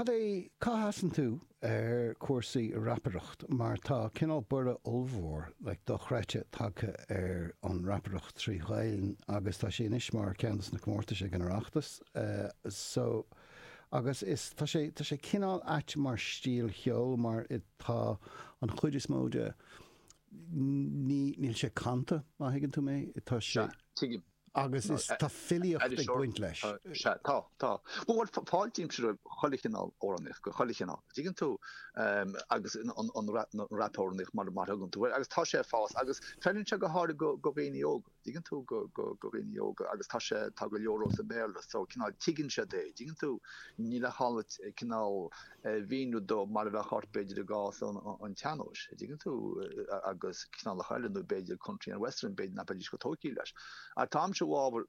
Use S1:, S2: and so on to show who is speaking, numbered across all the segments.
S1: Cad é, cá sheasann tú ar chúrsaí rapaireacht mar tá cineál borradh ollmhór, like, dochreidte tagtha ar an rapaireacht trí Ghaelainn agus tá sé anois mar ceann dos na comórtais ag an Oireachtas so agus is, tá sé, tá sé cineál ait mar stíl cheoil mar tá an chuid is mó de, ní, níl sé canta má thuigeann tú mé, tá sé.
S2: Sea, tuigim.
S1: Agus is tá filíocht ag baint leis.
S2: Sea, tá, tá. Bhuel, fáiltímse roimh chuile chineál amhránaíocht, chuile chineál, dtuigeann tú, agus an rap-amhránaíocht mar a thugann tú air, agus tá sé ag fás agus feileann sé go háirithe do dhaoine óga, dtuigeann tú, do dhaoine óga agus tá sé, tá go leor sa mBéarla so cineál tuigeann siad é, dtuigeann tú, níl ach cineál a mhíniú dó mar a bheadh ort b'fhéidir i gcás an tsean-nóis, a dtuigeann tú, agus cineálacha eile nó b'fhéidir country and western, b'fhéidir nach mbeidís chomh tógtha leis. Ach táimse i bhfabhar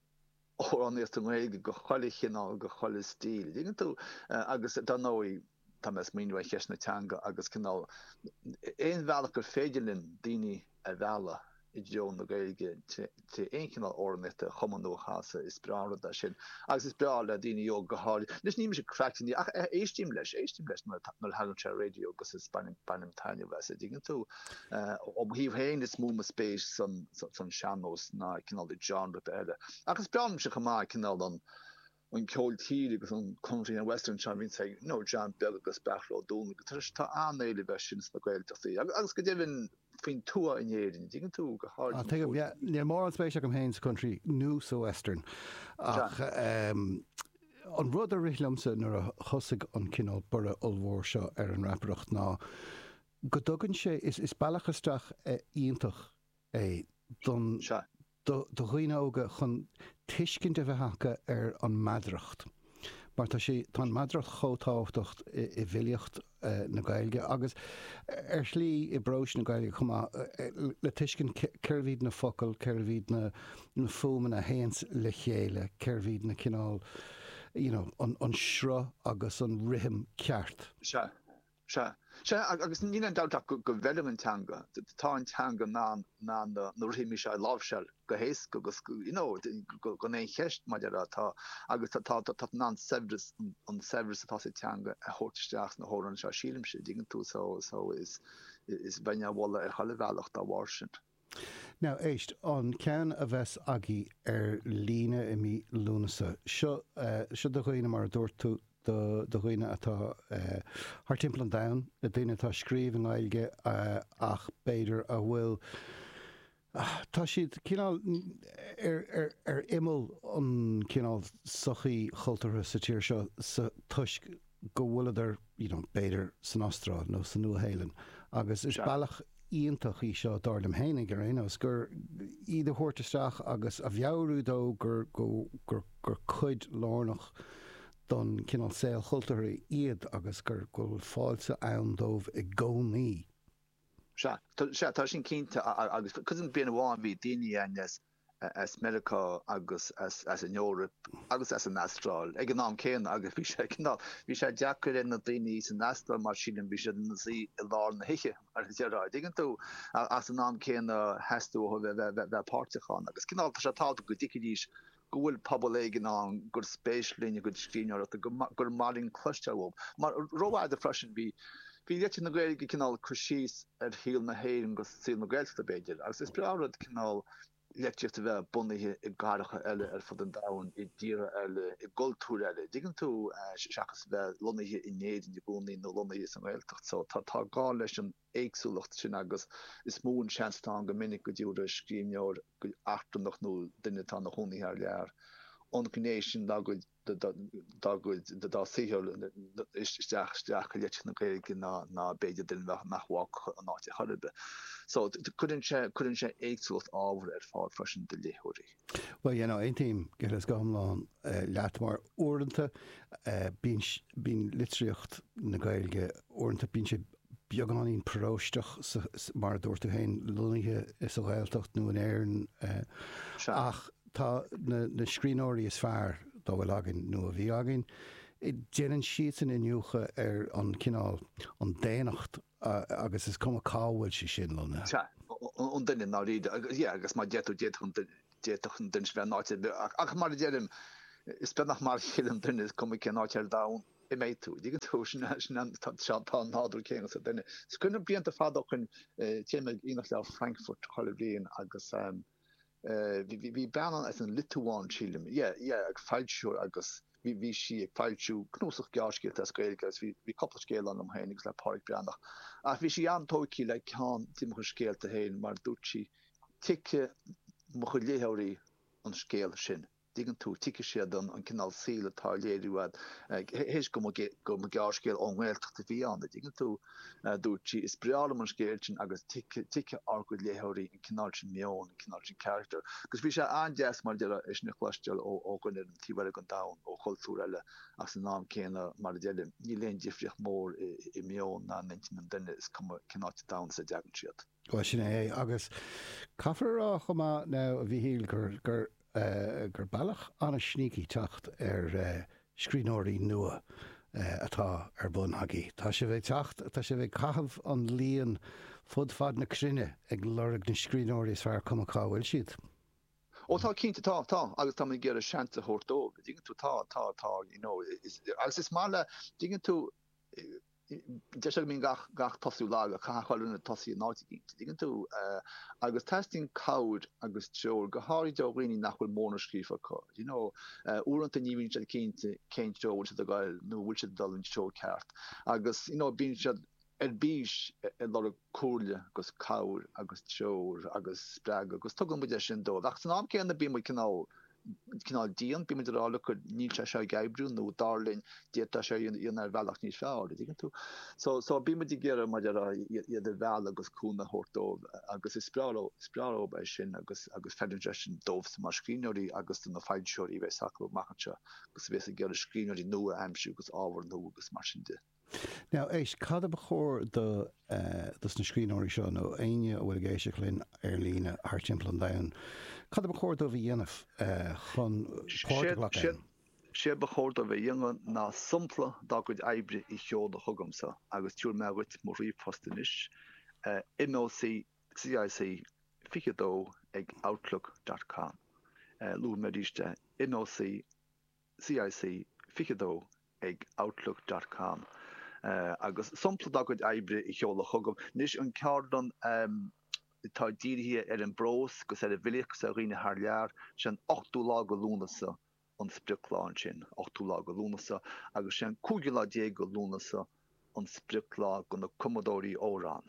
S2: amhránaíocht i nGaeilge de chuile chineál, de chuile stíl, a dtuigeann tú, agus dar ndóigh tá mé ag smaoineamh ar cheist na teanga agus cineál aon bhealach gur féidir linn daoine a mhealladh i dtreo na Gaeilge tré aon chineál amhránaíochta a chumadh nó a chasadh, is breá an rud é sin. Agus is breá le daoine óga go háirithe. Anois ní mise craic ach éistím leis, éistím leis nuair a thagann sé ar raidió agus is bainim, bainim taitneamh as, a dtuigeann tú. Ó mo thaobh féin is mó mo spéis san, san sean-nós ná cineál i genre eile. Ach is breá liomsa chomh maith cineál an, an ceol tíre agus an country and western seo a bhíonns ag you know John Beag agus Beairtle Ó Dúnlainge agus tá tá an-éileamh air sin sna Gaeltachtaí agus agus go deimhin faoin tuath in Éirinn, dtuigeann tú, go háirid
S1: Ah, tuigim, yeah. Níl mórán spéis agam féin sa country nó sa western ach ehm an rud a rith liomsa nuair a thosaigh an cineál borradh ollmhór seo ar an rapaireacht ná go dtugann sé, is is bealach isteach iontach é don
S2: Sea.
S1: do dhaoine óga chun tuiscint a bheith acu ar an meadaracht mar tá sé, tá an meadaracht chomh tábhachtach i bhfilíocht na Gaeilge agus ar shlí i bpróis na Gaeilge chomh maith, le tuiscint cérbh iad na focail, cérbh iad na fuaimeanna a théanns le chéile, cérbh iad na cineál, you know, an sruth agus an rithim ceart.
S2: Sea. Sea. Sea, agus níl aon dabht ach go bhfeileann an teanga. Tá an teanga in ann, in ann na rithimí seo a láimhseáil go héasca agus, you know, gan aon cheist, mar a déarfá. Tá, agus tá, tá, tá in ann saibhreas, an saibhreas atá sa teanga a thabhairt isteach sna hamhráin seo, sílimse, an dtuigeann tú, so, so is, is bheinn á mholadh ar chuile bhealach dá bharr sin.
S1: Now, éist, an ceann a bheas agaibh ar líne i mí Lúnasa, seo, seo do dhaoine, mar a dúirt tú, do, do dhaoine atá thar timpeall an domhain, le daoine atá ag scríobh i nGaeilge ach b'fhéidir a bhfuil, tá siad cineál ar, ar, ar imeall an cineál sochaí chultúrtha sa tír seo sa, toisc go bhfuileadar, you know, b'fhéidir san Astráil nó sa Nua-Shéalainn agus is bealach iontach í seo, dar liom fhéinig ar aon nós, gur iad a thabhairt isteach agus a mheabhrú dó gur, go, gur, gur cuid lárnach don cineál saol chultúrtha iad agus gur, go bhfuil fáilte ann dóibh i gcónaí.
S2: Sea, sea, tá sin cinnte agus cuimhin bliain amháin bhí daoine ann as as Meiriceá agus as as an Eoraip agus as an Astráil ag an am céanna agus bhí sé cineál, bhí sé deacair ar na daoine san Astráil mar sílim bhí siad ina suí i lár na hoíche mar a déarfá, an dtuigeann tú, ach san am céanna theastaigh uathu bheith bheith bheith páirteach ann agus cineál tá sé tábhachtach go dtuigfidís go bhfuil pobal éigin ann gur spéis linn a gcuid scríbhneoireachta, go gur maith linn cloisteáil uathu. Mar rófhada freisin bhí bhí litríocht na Gaeilge cineál cur síos ar shaol na hÉireann agus saol na Gaeltachta b'fhéidir agus is breá an rud cineál litríocht a bheith bunaithe i gcathracha eile ar fud an domhain, i dtíortha eile, i gcultúir eile, dtuigeann tú, seachas a bheith lonnaithe in Éirinn i gcónaí nó lonnaithe sa nGaeltacht. So tá tá gá leis an éagsúlacht sin agus is mó an seans atá ann go minic go dtabharfaidh scríbhneoir eachtrannach nó duine atá ina chónaí thar lear an ghné sin dá gcuid dá gcuid dá saothar isteach isteach i litríocht na Gaeilge ná ná b'fhéidir duine nach nach bhfágfadh an áit ar chor ar bith. So cuireann sé cuireann sé éagsúlacht ábhair ar fáil freisin do léitheoirí.
S1: Bhuel, you know, aontaím go huile is go hiomlán leat mar uaireanta bíonn bíonn litríocht na Gaeilge uaireanta bíonn sé beagáinín paróisteach mar a dúirt tú féin, lonnaithe sa Ghaeltacht nó in Éirinn ach tá na scríbhneoirí is fearr dá bhfuil againn nó a bhí againn, déanann siadsan iniúchadh ar an cineál, an daonnacht agus is cuma cá bhfuil sé sin lonnaithe.
S2: Sea, an duine i ndáiríre. Yeah, agus mar a deir tú, d'fhéadfadh an duine, d'fhéadfadh an duine sin bheith in áit ar bith ach mar a deirim, is beag nach mar a chéile an duine, is cuma cén áit ar domhan. Imeoidh tú. Dtuigeann tú? Sin sin an tá tá an nádúr céanna sa duine. Is cuimhin liom blianta fada ó shin téim ag Aonach Leabhar Frankfurt chuile bhliain agus bhí bhí bhí bean ann as an Liotuáin sílim, yeah, yeah, ag foilsiú agus bhí bhí sí ag foilsiú cnuasach gearrscéalta as Gaeilge agus bhí bhí cúpla scéal ann liom féin agus le Pádraic Breathnach. Ach bhí sí an-tógtha le ceann de mo chuid scéalta féin mar dúirt sí, tuigfidh mo chuid léitheoirí an scéal sin. dtuigeann tú, tuigfidh siad an cineál saoil atá á léiriú agat, théis go mba gearrscéal ón nGaeltacht a bhí ann, a dtuigeann tú, dúirt sí, is breá liom an scéal sin agus tuigfidh ár gcuid léitheoirí an cineál sin meoin, an cineál sin character. Agus bhí sé an-deas, mar a déarfá, é sin a chloisteáil ó dhuine ar an taobh eile den domhan, ó chultúr eile, ach san am céanna, mar a deirim, níl aon difríocht mhór i meon ná in intinn an duine, is cuma cén áit sa domhan as a dtagann siad.
S1: Bhuel, sin é. Agus caithfear a rá chomh maith now, a Mhíchíl, gur, gur, gur bealach an-sneaky teacht ar scríbhneoirí nua atá ar bun agaibh. Tá sibh ag teacht, tá sibh ag caitheamh an líon fud fad na cruinne ag lorg na scríbhneoirí is fearr, cuma cá bhfuil siad.
S2: Ó tá, cinnte, tá, tá, agus tá mé ag iarraidh seans a thabhairt dóibh, an dtuigeann tú, tá, tá, tá, you know, is, agus is maith le, dtuigeann tú, Deir siad go mbíonn gach, gach tosú lag ach caithfidh chuile dhuine tosaí in áit eicínt, an dtuigeann tú. Agus teastaíonn cabhair agus treoir, go háirid ó dhaoine nach bhfuil mórán scríofa acu, you know. Uaireanta ní bhíonn siad cinnte cén treo a bhfuil siad ag dul nó an bhfuil siad ag dul an treo ceart. Agus, you know, bíonn siad ar bís ag lorg comhairle agus cabhair agus treoir agus spreagadh agus tugann muid é sin dóibh. Ach san am céanna bíonn muid cineál cineál dian, bíonn muid ag rá look níl sé seo ag oibriú nó dar linn d'fhéadfá seo a dhéanamh ar bhealach níos fearr, an dtuigeann tú? So, so bíonn muid ag iarraidh mar a déarfá iad a mhealladh agus cúnamh a thabhairt dóibh agus is breá leo, is breá leo é sin agus, agus feileann sé sin dóibhsa mar scríbhneoirí agus do na foilsitheoirí a bheas acu amach anseo agus a bheas ag iarraidh scríbhneoirí nua a aimsiú agus ábhar nua agus mar sin de.
S1: Now, éist, cad a ba chóir do dos na scríbhneoirí seo, nó éinne a bhfuil ag éisteacht linn ar líne thart timpeall an domhain, cad a ba chóir dóibh a dhéanamh chun páirt a ghlacadh ann?
S2: Séard ba chóir dóibh a dhéanamh ná sampla dá gcuid oibre a sheoladh chugamsa agus tabharfaidh mé dhuit mo ríomhphost anois, moccic 22 ag outlook dot com. Luafaidh mé arís é, moc. CIC 22 ag outlook dot com agus sampla dá gcuid oibre a sheoladh chugam. Anois, an ceardlann atá dírithe ar an bprós agus ar an bhfilíocht agus ar dhaoine thar lear, sé an ochtú lá de Lúnasa an sprioclá ansin, ochtú lá de Lúnasa, agus sé an cúigiú lá déag de Lúnasa an sprioclá do na cumadóirí amhrán,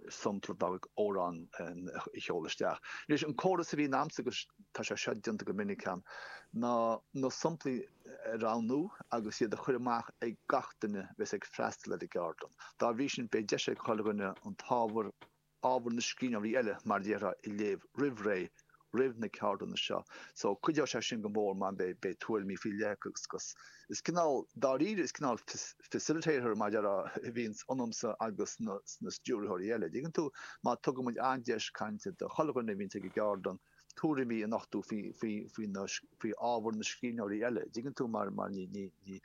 S2: sampla dá gcuid amhrán a sheoladh isteach. Anois, an córas a bhíonn a'msa, agus tá sé seo déanta go minic a'm, ná na samplaí a roghnú agus iad a chur amach ag gach duine a bheas ag freastal ar an gceardlann. Dá bhrí sin, beidh deis ag chuile dhuine an t-ábhar ábhar na scríbhneoirí eile, mar a déarfá, a léamh roimh ré, roimh na ceardlanna seo. So, cuideoidh sé sin go mór mar beidh, beidh tuairimí faoi leith acu agus, agus is cineál, dáiríre, is cineál facilitator, mar a déarfá, a bhíonns ionamsa agus sna, sna stiúrthóirí eile. Dtuigeann tú? Má tugann muid an-deis cainte do chuile dhuine a bhíonns ag an gceardlann, tuairimí a nochtadh faoi, faoi, faoi na, faoi ábhar na scríbhneoirí eile. Dtuigeann tú? Mar, mar ní, ní, ní,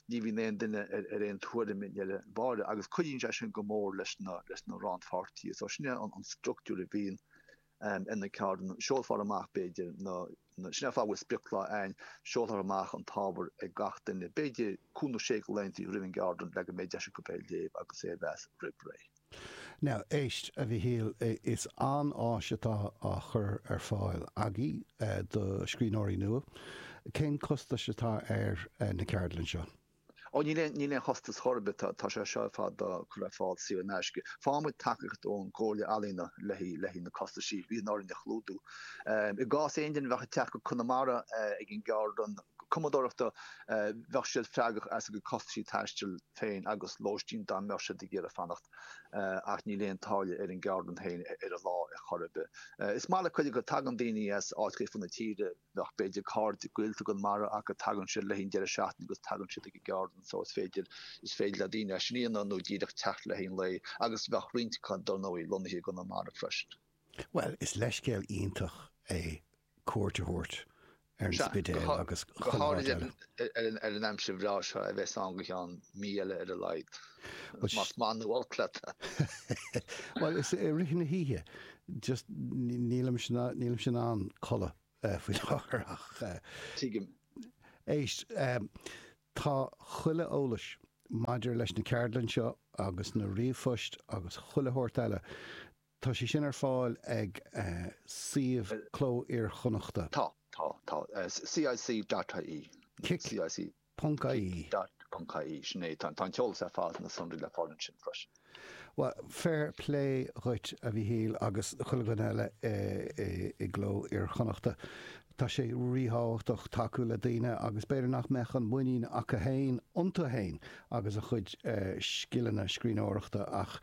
S2: ní bhíonn aon duine ar, ar aon tuairim i ndeireadh báire agus cuidíonn sé sin go mór leis na, leis na rannpháirtithe. So sin é an, an structúr a bhíonn ar na ceardlanna. Seolfar amach b'fhéidir na, na, sin é an fáth a bhfuil sprioclá ann, seolfar amach an t-ábhar ag gach duine b'fhéidir cúig nó sé de laethanta roimh an gceardlann le go mbeidh deis acu é a léamh agus é a mheas roimh ré.
S1: Now, éist, a Mhichíl, is an-áis atá á chur ar fáil agaibh do scríbhneoirí nua. Cén costas atá ar na ceardlanna seo?
S2: Ó, níl aon, níl aon chostas chor ar bith, tá, tá sé seo ar fad á chur ar fáil saor in aisce. Faigheann muid tacaíocht ón gComhairle Ealaíona le haghaidh, le haghaidh na costaisí a bhíonn orainn a chlúdú. I gcás aon duine a bheadh ag teacht go Conamara ag an gceardlann cumadóireachta, bheadh siad freagrach as a gcuid costaisí taistil féin agus lóistín dá mbeadh siad ag iarraidh fanacht ach níl aon táille ar an gceardlann féin ar an lá ar chor ar bith. Is maith le cuid acu, tagann daoine as áiteacha fud na tíre, bheadh b'fhéidir cairde gaolta i gConamara acu, tagann siad le haghaidh an deireadh seachtaine agus tagann siad ag an gceardlann so is féidir, is féidir le daoine é sin a dhéanamh nó díreach teacht le haghaidh an lae agus bheadh roinnt acu dar ndóigh lonnaithe i gConamara freisin.
S1: Bhuel, is leithscéal iontach é cuairt a thabhairt ar an Spidéal agus
S2: go háirid ar an aimsir bhreá seo a bheas ann go ceann mí eile ar a laghad, más maith nó olc leat.
S1: Bhuel, is i rith na hoíche, just nílimse nílimse in ann codladh faoi láthair ach.
S2: Tuigim.
S1: Éist. Tá chuile eolais maidir leis na ceardlann seo agus na ríomhphoist agus chuile shórt eile, tá sé sin ar fáil ag suíomh Cló Iar-Chonnachta.
S2: Tá, tá, tá. CIC dot ie.
S1: Cic.
S2: CIC.
S1: Ponc ie.
S2: Dot ponc ie, sin é. Tá an t-eolas ar fad, na sonraí le fáil ansin freisin.
S1: Bhuel, fair play dhuit, a Mhíchíl, agus chuile dhuine eile i gCló Iar-Chonnachta. Tá sé ríthábhachtach tacú le daoine agus b'fhéidir nach mbeadh an muinín acu féin iontu féin agus a chuid scileanna scríbhneoireachta ach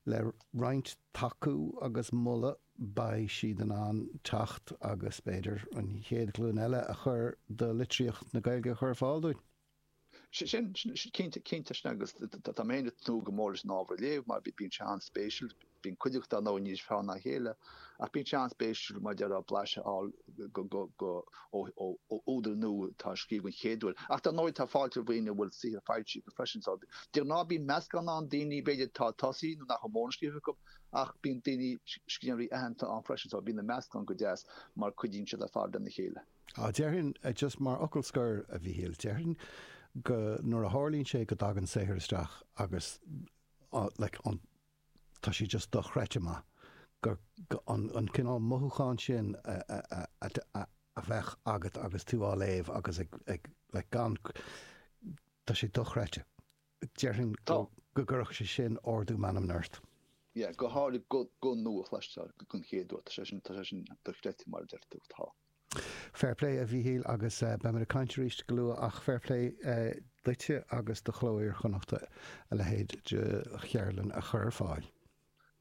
S1: le roinnt tacú agus moladh beidh siad in ann teacht agus b'fhéidir an chéad ghlúin eile a chur de litríocht na Gaeilge a chur ar fáil dúinn.
S2: Sin, cinnte, cinnte sin agus tá mé féin ag tnúth go mór leis an ábhar a léamh mar bíonn sé an-spéisiúil, bíonn cuid acu dar ndóigh níos fearr ná a chéile ach bíonn sé an-spéisiúil mar a déarfá blaiseadh a fháil go ó údair nua atá ag scríobh den chéad uair. Ach dar ndóigh tá fáilte roimh dhaoine a bhfuil saothar foilsithe acu freisin so de ghnáth bíonn meascán ann daoine b'fhéidir atá ag tosaí nó nach bhfuil mórán scríofa acu ach bíonn daoine scríbhneoirí aitheanta ann freisin so bíonn an meascán go deas mar cuidíonn siad ar fad lena chéile.
S1: Á, déarfainn, just mar fhocal scoir, a Mhíchíl, déarfainn go, nuair a tharlaíonn sé go dtagann saothar isteach agus, like, an, tá sé just dochreidte maith, go, go, an, an cineál mothúchán sin a, a, a, a, a bheadh agat agus tú á léamh agus ag, ag, like, gan, tá sé dochreidte. Déarfainn go, go gcuirfeadh sé sin ardú meanmna ort.
S2: Yeah, go háirid guth nua a chloisteáil den chéad uair, tá sé sin, tá sé sin dochreidte mar a deir tú, tá.
S1: Fair play a Mhíchíl agus beimid ag caint arís go luath ach fair play duitse agus do Chló Iar-Chonnachta a leithéid de cheardlann a chur ar fáil.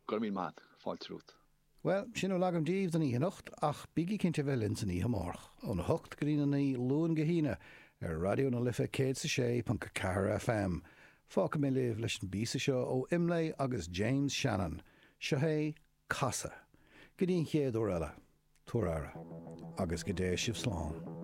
S2: Go raibh míle maith agat. Fáilte romhat.
S1: Bhuel, sin a bhfuil agam daoibh don oíche anocht, ach bígí cinnte a bheith linn san oíche amárach, óna hocht go dtí'n a 9, Luan go hAoine, ar Raidió na Life 106.4 FM. Fágfaidh mé libh leis an bpíosa seo ó Imlé agus James Shannon. Seo é Casadh. Go dtí an chéad uair eile, tabhair aire, agus go dté sibh slán.